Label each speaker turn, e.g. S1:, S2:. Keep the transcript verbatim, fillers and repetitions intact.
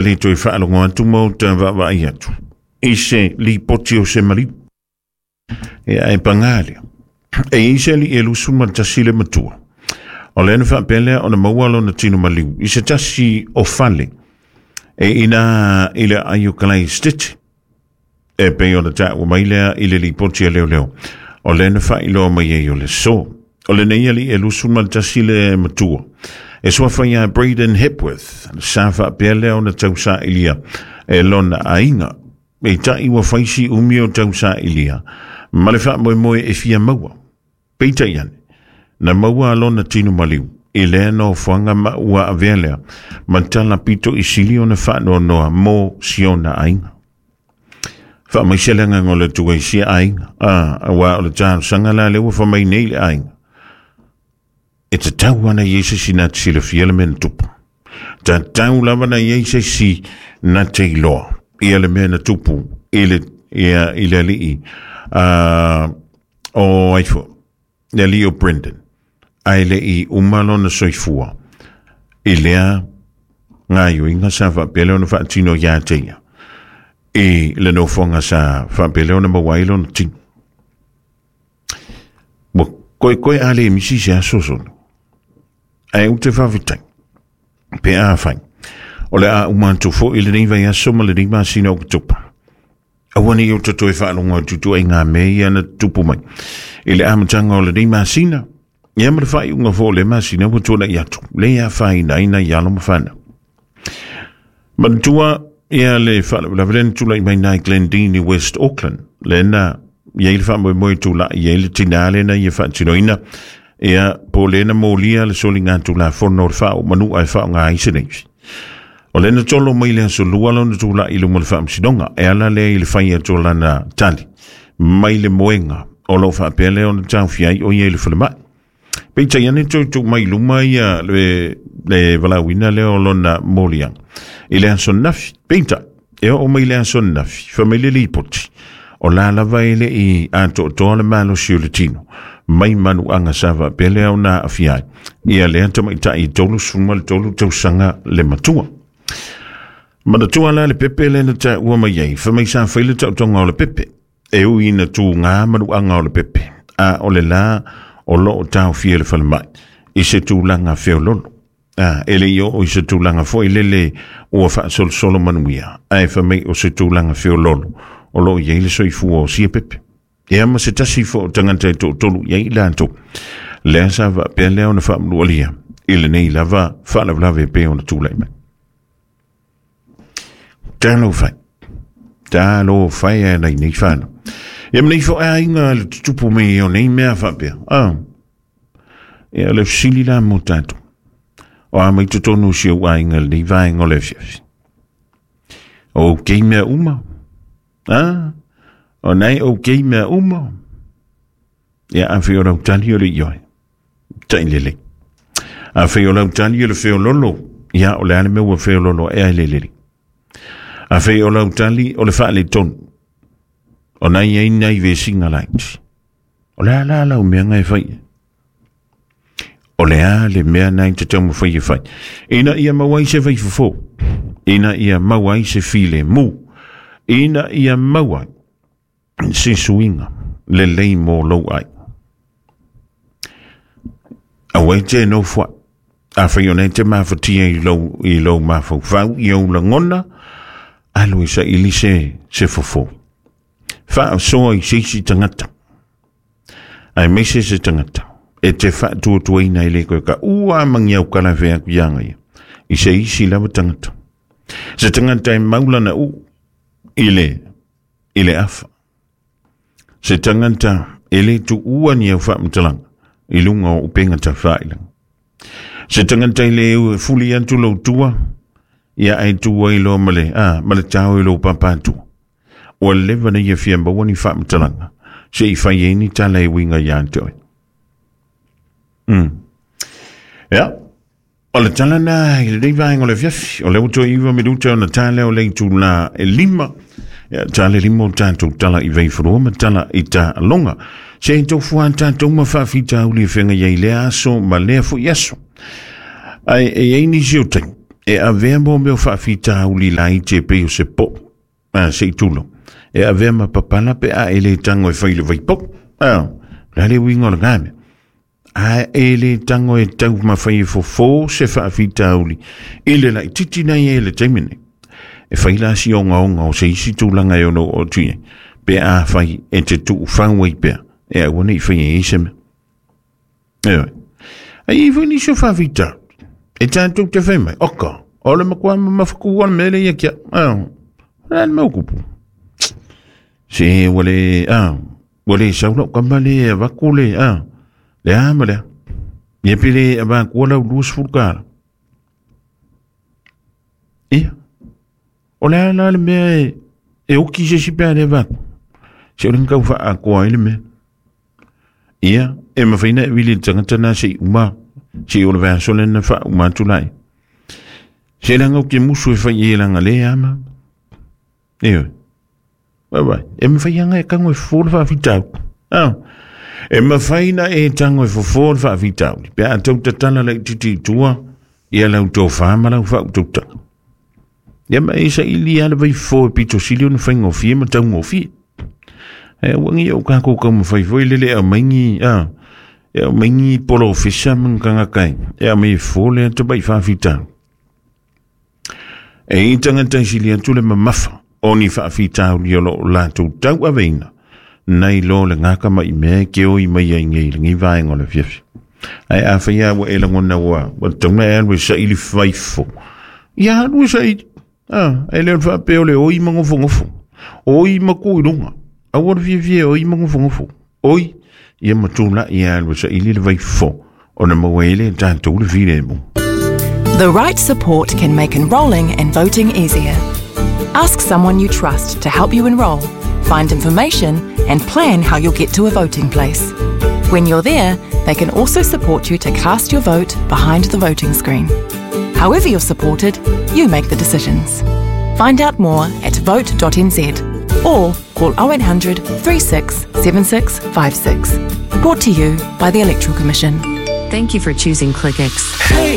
S1: Le toe faalogo atu ma o ta vaavaai atu i se lipoti o se maliu. Ia ae pagā lea, e i ai se alii e lusu ma le tasi le matua. O lea na faapea lea ona maua lona tino maliu i se tasi o fale e ina i le aai o Kalaistiti. E pei ona taua mai lea i le lipoti a leoleo. O lea na faailoa mai ai o le so. O lenei alii e lusu ma le tasi le matua. E suafa ia Braden Hepworth, sa faapea lea ona tausailia e lona aiga. Peitai ua faisi umi o tausailia ma le faamoemoe e fia maua. Peitai ane, na maua lona tino maliu i lea nofoaga ma ua avea lea ma tala pito i sili ona faanoanoa mo siona aiga. Faamaise le agaga o le Atua i sia aiga, a, auā o le talosaga la lea ua fai mai nei le aiga. E tatau ana i ai se isi na te silafia le mea na tupu. Tatau lava na i ai se isi na te iloa ia le mea na tupu i le, ia, i le alii uh, o ai foi, le alii o Brendan, ae le i uma lona soifua i lea gaioiga sa faapea lea ona faatino ia te ia i le nofoaga sa faapea lea ona maua ai lona tino. Ua koekoe a le misi se aso solo. Ae ou te faafetai pe afai o le a uma atu foi lenei vaiaso ma lenei masina o Oketopa. Aua ne i ou toe faalogo atu ituaiga mea ia na tutupu mai i le amataga o lenei masina, ia ma le faaiuga foi o le masina ua tuanai atu, le afaina ai nai alo ma fanau. Manatua ia le faalavelave lea na tulai mai nai Glendene i West Auckland, lea na i ai le faamoemoe e tulai ai le tinā lea na ia faatinoina, ia po o lea na molia le soligatulafono o le faaoomanu'a e faaaoga ai se navy. O lea na tolo mai le aso Lua lona tulai i luma o le faamasinoga, e ala lea i le fai atu o lana tali mai le moega o lo o faapea lea ona taofia ai o ia i le falemai. Peitai ane toe tuu mai i luma ia le, le valaauina lea o lona moliaga i le aso ananafi. Peitai, e oo mai le aso ananafi, fai mai le lipoti, o la lava e le i atoatoa le malosi o le tino mai manuaga sa faapea lea ona aafia ai ia lea tamaitai e tolusefulu ma le tolu tausaga le matua. Manatua la le pepe lea na taua mai ai, fai mai sa fai le taotoga o le pepe, e ui ina tuga manuaga o le pepe, a o le la o lo o taofia le falemai i se tulaga feololo. A, e le i oo i se tulaga foi lele ua faasolosolo manuia, ae fai mai o se tulaga feololo o lo o i ai le soifua o sia pepe. Ia ma se tasi foi o tagata e toatolu i ai i latou, lea sa faapea lea ona faamanualia i lenei lava faalavelave e pei ona tulai mai. Talofa e, talofa e a nei fanau. Ia ma nei foi aiga le tutupu mai o nei mea faapea. Ah, ia o le fesili la mo tatou. O a mai totonu o si ou aiga lenei vaega o le afiafi. O okay mea uma. Ah, o nei okay mea uma. Ia afai o lau tali o le ioe. Tai lelei. Afai o lau tali o le feololo, ia o le a le mea ua feololo ea e le lelei. Afai o lau tali o le faaletonu, o nai ai nai vesiga laiti. O le a la lau mea e fai? O le a le mea nai te taumafai e fai? Ina ia maua ai se vaifofo, ina ia maua ai se filemu, ina ia maua ai se suiga lelei mo lou aiga. Aua e te nofo ai. Afai o nei te mafatia i lou, i lou mafaufau, i ou lagona, alu e saili se, se fofo. Faasoa i se isi tagata, aemaise se tagata e te faatuatuaina e le koe ka ua mangi au kala fea atu ia ia i se isi lava tagata. Se tagata e maulana u i le, i le afa. Se tagata e le tuua ni au faamatalaga i luga o upega tafailaga. Se tagata i le fuli atu lou tua, ia ai tua i loa ma le, a, ma le tao i lou papatua. Ua leva na ia fia maua ni faamatalaga se i fai ai ni tala e uiga ia te oe. Mm. Ia, o le tala na i lenei vaega o le afiafi, o lea ua toe iva minuta ona ta lea o le itula e lima. Ia, ta le lima o tatou tala i Vaifanua ma tala i Taaloga. Se i tofu a tatou ma faafitauli e feagai ai lea aso ma lea foi aso. Ae e i ai nisi o taimi, E avea mo mea o faafitauli laiti e pei o se po'u, a se i tulo. E avea ma papala pe a e le tago e fai le vaipo'u. A, la le uiga o lagā mea. A e le tago e tau mafai e fofō se faafitauli i le laititi na ia i le taimi nei. E fai la si ogaoga o se isi tulaga e ono oo atu i ai, pe a fai e te tuufau ai pea, e aua nei fai e se mea. Ioe. Ai i foi nisi o faafitauli. E tatou te fai mai, oka, o le matua mamafaku o le mea lea ia kia. Ah, o le mea o kupu. Se ua le, ah, ua le sau lau kama le avaku le, ah, le a ma lea. Ia pe le avakua lau luasefulu tala. Ia, o le a la le mea e, e oki se isi pe a le avaku. Se o le kau faakoa ai le mea. Ia, e mafai na e vili le tagata na se i uma, se i o le vaiaso lea na faauma atu lai. Se leaga ou te musu e fai e laga le ama. Ioe. Vaavaai, e mafai aga e tago e fofo le faafitauli. Ah. E mafai na e tago e fofo le faafitauli. Pe a tau tatala laitiiti i tua, ia lau tofā ma lau faautautaga. Ia ma e saili lava le vaifofo e pito sili ona faigofie ma taugofie. Ae aua ne i ou tatou taumafai foi lele e aumai ni, a, e aumai ni polofesa ma ni tagata e, e aumai e fofo le ata mai faafitauli. E i ai tagata e sili atu le mamafa o ni faafitauli o lo o latou tauaveina nai lo le gaka mai mea e keoi mai ai nei i lenei vaega o le afiafi. Ae afai lava ua e lagona ua ua tatau ona e alu e saili faifo, ia alu e saili. A, e le o le faapea o le oi ma nofonofo. Oi ma tu i luga. Aua le fiafia e oi ma nofonofo. Oi, ia ma tulai e alu e saili le vaifo ona maua ai lea e tatou le filemu.
S2: The right support can make enrolling and voting easier. Ask someone you trust to help you enrol, find information, and plan how you'll get to a voting place. When you're there, they can also support you to cast your vote behind the voting screen. However you're supported, you make the decisions. Find out more at vote dot N Z or call oh eight hundred three six seven six five six. Brought to you by the Electoral Commission.
S3: Thank you for choosing Clickx.
S4: Hey,